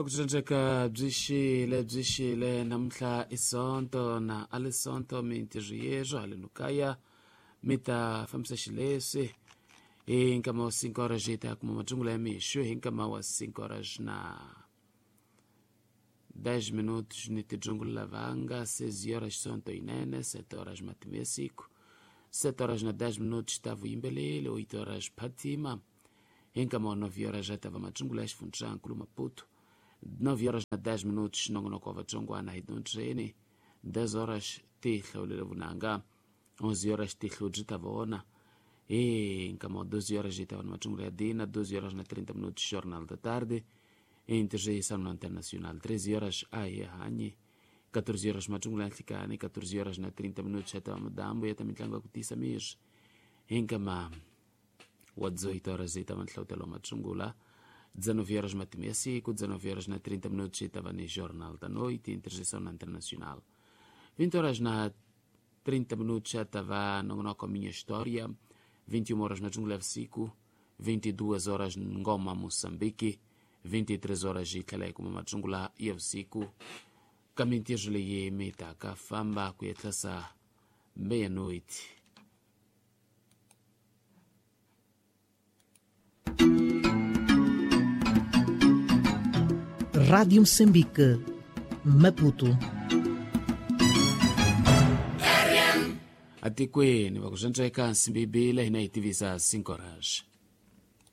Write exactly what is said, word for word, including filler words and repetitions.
Ku byi xile byi xile namuntlha i Sonto na a li Sonto mintirho yeswo haleno kaya mi ta fambisa xileswi hi nkama wa cinco horas hi ta kuma matsungula ya mixo hi nkama wa cinco horas na dez minutos ni tidzungula lavanga seis horas Sonto yinene sete horas matimu ya siku sete horas na dez minutos ta vuyimbeleli oito horas phatima hi nkama wa nove horas ja ta va matsungula ya xifundzankulu Maputo nove horas na dez minutos nongonoko wa vatsongwana hi dyondzeni dez horas ti hlawulele vunanga onze horas ti hlodzi ta vona hi nkama wa doze horas hi ta va na matsungula ya dina doze horas na trinta minutos Jornal da Tarde interjeição na Internacional treze horas a hi hanyi catorze horas matsungula ya nhlikani catorze horas na trinta minutos ya ta va madambu ya ta mitlangu ya ku tiyisa miri hi nkama wa dezoito horas hi ta va nhlawutelo wa matsungula dezenove horas matimu ya siku dezenove horas na trinta minutos hi ta va ni Jornal da Noite interjeição na Internacional vinte horas na trinta minutos ya ta va nongonoko Minha História vinte e uma horas matsungula ya vusiku vinte e duas horas Ngoma Moçambique vinte e três horas hi tlhela hi kuma matsungula ya vusiku ka mintirho leyi mi taka famba ku ya tlhasa meia-noite. Rádio Moçambique, Maputo. Atikweni va ku swantswa eka nsimbibile hina hi tivisa cinco horas.